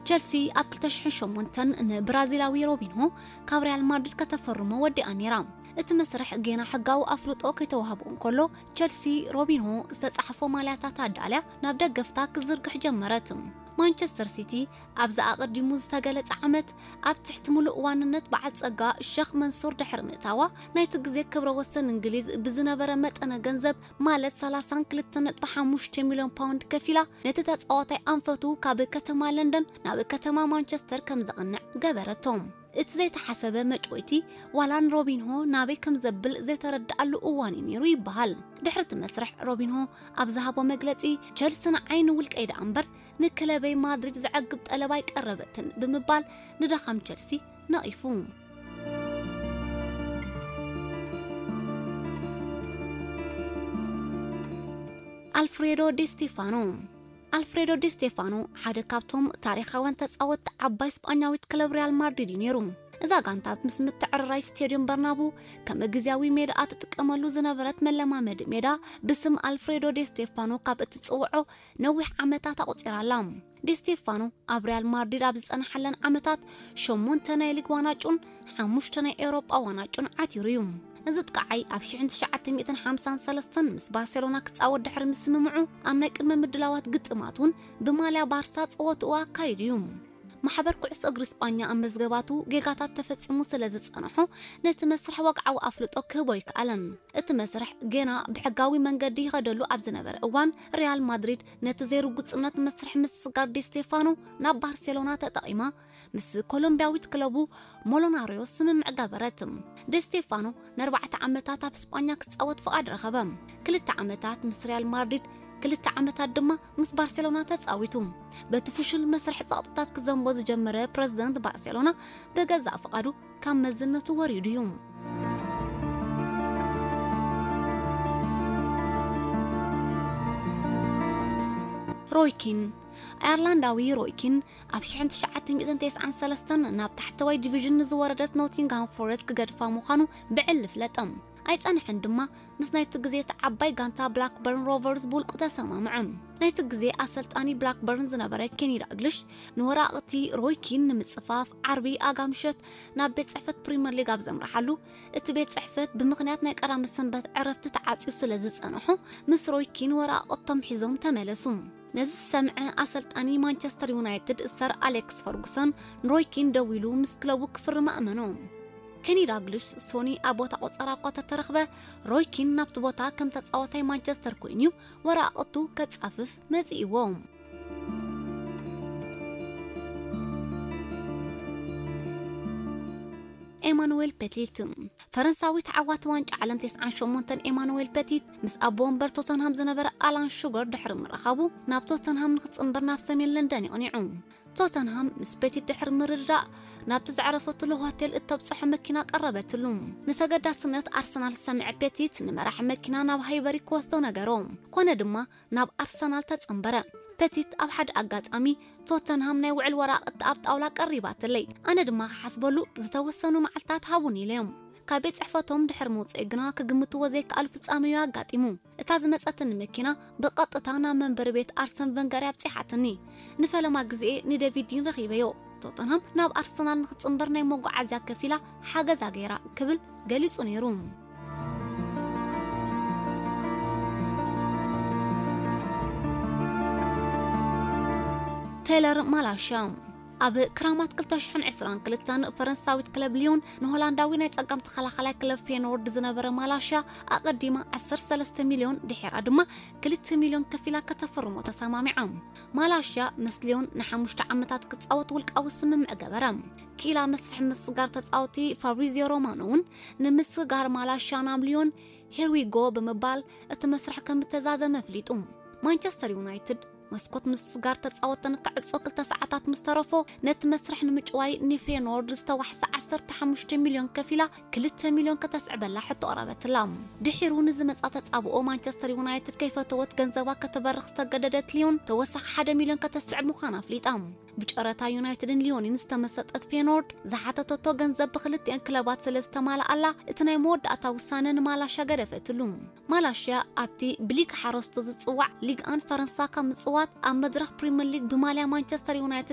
ቸልሲ ኣብ ክልተ ሽሕን ሸሞንተን ንብራዚላዊ ሮቢንሆ ካብ ሪያል ማድሪድ ከተፈርሞ ወዲኣ ነይራ። እቲ መስርሕ ጌና ሕጋዊ ኣፍልጦ ከይተዋህቦ እንከሎ፣ ቸልሲ ሮቢንሆ ዝተጻሕፎ ማልያታት ኣዳልያ ናብ ደገፍታ ክዝርግሕ ጀመረት። ማንቸስተር ሲቲ ኣብዚ ኣቐዲሙ ዝተገለጸ ዓመት ኣብ ትሕቲ ምሉእ ዋንነት በዓል ጸጋ ሸኽ መንሱር ድሕሪ ምእታዋ፣ ናይቲ ግዜ ክብረ ወሰን እንግሊዝ ብዝነበረ መጠነ ገንዘብ ማለት ሰላሳን ክልተ ነጥቢ ሓሙሽተ ሚልዮን ፓውንድ ከፊላ ነቲ ተጻዋታይ ኣንፈቱ ካብ ከተማ ለንደን ናብ ከተማ ማንቸስተር ከም ዘቕንዕ ገበረቶ። እቲ ዘይተሓሰበ መጭወይቲ ዋላ ንሮቢንሆ ናበይ ከም ዘብል ዘይተረድኣሉ እዋን እዩ ነይሩ ይበሃል። ድሕሪ እቲ መስርሕ ሮቢንሆ ኣብ ዝሃቦ መግለጺ፣ ቸልሲ ንዓይ ንውልቀይ ደኣ እምበር ንክለበይ ማድሪድ ዘዕግብ ጠለብ ኣይቀረበትን ብምባል ንድኻም ቸልሲ ነቒፉ። ኣልፍሬዶ ዲ ስቴፋኖ። ኣልፍሬዶ ዲ ስቴፋኖ ሓደ ካብቶም ታሪኻውያን ተጻወትቲ ዓባይ ስጳኛዊት ክለብ ሪያል ማድሪድ እዩ ነይሩ። እዛ ጋንታ ምስ ምትዕርራይ ስቴድዮም በርናቡ ከም ግዝያዊ ሜዳ ትጥቀመሉ ዝነበረት መለማመዲ ሜዳ ብስም ኣልፍሬዶ ዲ ስቴፋኖ ካብ እትጽውዖ ነዊሕ ዓመታት ኣቑጺራ ኣላ። ዲ ስቴፋኖ ኣብ ሪያል ማድሪድ ኣብ ዝጸንሓለን ዓመታት ሸሞንተ ናይ ሊግ ዋናጩን ሓሙሽተ ናይ ኤውሮጳ ዋናጩን ዓቲሩ እዩ። እዚ ጥቃዓይ ኣብ ሽሕን ትሽዓተ ሚእትን ሓምሳን ሰለስተን ምስ ባርሴሎና ክጻወት ድሕሪ ምስምምዑ ኣብ ናይ ቅድመ ምድላዋት ግጥማት እውን ብማልያ ባርሳ ጸወትኡ ኣካይዱ እዩ። ማሕበር ኩዕሶ እግሪ ስጳኛ ኣብ መዝገባቱ ጌጋታት ተፈጺሙ ስለ ዝጸንሖ ነቲ መስርሕ ወግዓዊ ኣፍልጦ ክህቦ ኣይከኣለን። እቲ መስርሕ ጌና ብሕጋዊ መንገዲ ይኸደሉ ኣብ ዝነበረ እዋን ሪያል ማድሪድ ነቲ ዘይርጉጽነት መስርሕ ምስስጋር ዲ ስቴፋኖ ናብ ባርሴሎና ተጠቒማ ምስ ኮሎምቢያዊት ክለቡ ሞሎናርዮ ስምምዕ ገበረት። ዲ ስቴፋኖ ንኣርባዕተ ዓመታት ኣብ ስጳኛ ክጻወት ፍቓድ ረኸበ። ክልተ ዓመታት ምስ ሪያል ማድሪድ፣ ክልተ ዓመታት ድማ ምስ ባርሴሎና ተጻዊቱ። በቲ ፍሹል መስርሕ ጸቕጥታት ክዘንቦ ዝጀመረ ፕረዚደንት ባርሴሎና ብገዛእ ፍቓዱ ካብ መዝነቱ ወሪዱ እዩ። ሮይ ኪን። ኣየርላንዳዊ ሮይ ኪን ኣብ ሽሕን ትሽዓተ ሚእትን ተስዓን ሰለስተን ናብ ታሕተዋይ ዲቪዥን ንዝወረደት ኖቲንግሃም ፎረስት ክገድፋ ምዃኑ ብዕሊ ፍለጠ። ኣይጸንሐን ድማ፣ ምስ ናይቲ ግዜ እቲ ዓባይ ጋንታ ብላክበርን ሮቨርስ ብውልቁ ተሰማምዐ። ናይቲ ግዜ ኣሰልጣኒ ብላክበርን ዝነበረ ኬኒ ዳግልሽ ንወራቕቲ ሮይ ኪን ንምጽፋፍ ዓርቢ ኣጋ ምሸት ናብ ቤት ጽሕፈት ፕሪምየር ሊግ ኣብ ዘምርሓሉ፣ እቲ ቤት ጽሕፈት ብምኽንያት ናይ ቀዳመ ሰንበት ዕረፍቲ ተዓጽዩ ስለ ዝጸንሖ፣ ምስ ሮይ ኪን ወራቕቶም ሒዞም ተመለሱ። ነዚ ዝሰምዐ ኣሰልጣኒ ማንቸስተር ዩናይትድ ሰር ኣሌክስ ፈርጉሰን ንሮይ ኪን ደዊሉ ምስ ክለቡ ክፍርም ኣእመኖ። ኬኒ ዳግልሽ ሶኒ ኣብ ቦታ ቆጸራ እኳ ተተረኽበ፣ ሮይ ኪን ናብቲ ቦታ ከም ተጻዋታይ ማንቸስተር ኮይኑ ወራቕቱ ከጻፍፍ መጺእዎ። ኤማኑዌል ፔቲት። ፈረንሳዊ ተዓዋቲ ዋንጫ ዓለም ተስዓን ሸሞንተን ኤማኑዌል ፔቲት ምስ ኣቦ ወንበር ቶተንሃም ዝነበረ ኣላን ሹገር ድሕሪ ምርኻቡ ናብ ቶተንሃም ንክጽንበር ናብ ሰሜን ለንደን የቕኒዑ። ቶተንሃም ምስ ፔቲት ድሕሪ ምርድዳእ ናብቲ ዘዕረፈትሉ ሆቴል እተብጽሖ መኪና ቀረበትሉ። ንተገዳስነት ኣርሰናል ዝሰምዐ ፔቲት ንመራሒ መኪና ናብ ሃይበሪ ክወስዶ ነገሮ። ኮነ ድማ ናብ ኣርሰናል ተጸንበረ። ፔቲት ኣብ ሓደ ኣጋጣሚ ቶተንሃም ናይ ውዕል ወራቕቲ ኣብ ጣውላ ቀሪባትለይ። ኣነ ድማ ክሓስበሉ ዝተወሰኑ መዓልታት ሃቡኒ ኢለዮም። ካብ ቤት ጽሕፈቶም ድሕሪ ምውጽእ ግና ክግምትዎ ዘይከኣሉ ፍጻመ እዩ ኣጋጢሙ። እታ ዝመጸትኒ መኪና ብቐጥታ ናብ መንበሪ ቤት ኣርሰን ቨንገር ኣብጺሓትኒ። ንፈለማ ግዜ ንዴቪድ ዲን ረኺበዮ። ቶተንሃም ናብ ኣርሰናል ንክጽንበር ናይ መጓዓዝያ ከፊላ ሓገዛ ገይራ ክብል ገሊጹ ነይሩ። ቴይለር ማላሽያ። ኣብ ክራማት ክልተ ሽሕን ዕስራን ክልተን ፈረንሳዊት ክለብ ሊዮን ንሆላንዳዊ ናይ ጸጋም ተኸላኻላይ ክለብ ፌኖርድ ዝነበረ ማላሽያ ኣቐዲማ ዓሰርተ ሰለስተ ሚልዮን ድሒራ ድማ ክልተ ሚልዮን ከፊላ ከተፈርሞ ተሰማሚዓ። ማላሽያ ምስ ሊዮን ንሓሙሽተ ዓመታት ክጻወት ውልቃዊ ስምምዕ ገበረ። ክኢላ መስርሕ ምስጋር ተጻወቲ ፋብሪዚዮ ሮማኖ እውን ንምስጋር ማላሽያ ናብ ሊዮን here we go ብምባል እቲ መስርሕ ከም እተዛዘመ ኣፍሊጡ። ማንቸስተር ዩናይትድ መስኮት ምስጋር ተጻወተን ክዕጾ ክልተ ሰዓታት ምስ ተረፎ፣ ነቲ መስርሕ ንምጭዋይ ንፌኖርድ ዝተዋሕሰ ዓሰርተ ሓሙሽተ ሚልዮን ከፊላ ክልተ ሚልዮን ከተስዕበላ ሕቶ ቀረበትላ። ድሒሩ ንዝመጻ ተጻብኦ ማንቸስተር ዩናይትድ ከይፈተወት ገንዘባ ከተበርኽ ዝተገደደት ሊዮን ተወሳኺ ሓደ ሚልዮን ከተስዕብ ምዃና ኣፍሊጣ። ብጨረታ ዩናይትድን ሊዮንን ዝተመሰጠት ፌኖርድ ዝሓተተቶ ገንዘብ ብክልቲአን ክለባት ስለ ዝተማልኣላ፣ እቲ ናይ መወዳእታ ውሳነ ንማላሻ ገደፈትሉ። ማላሽያ ኣብቲ ብሊግ ሓረስቶ ዝጽዋዕ ሊግ ኣን ፈረንሳ ካብ ምጽዋት ኣብ መድረኽ ፕሪምየር ሊግ ብማልያ ማንቸስተር ዩናይትድ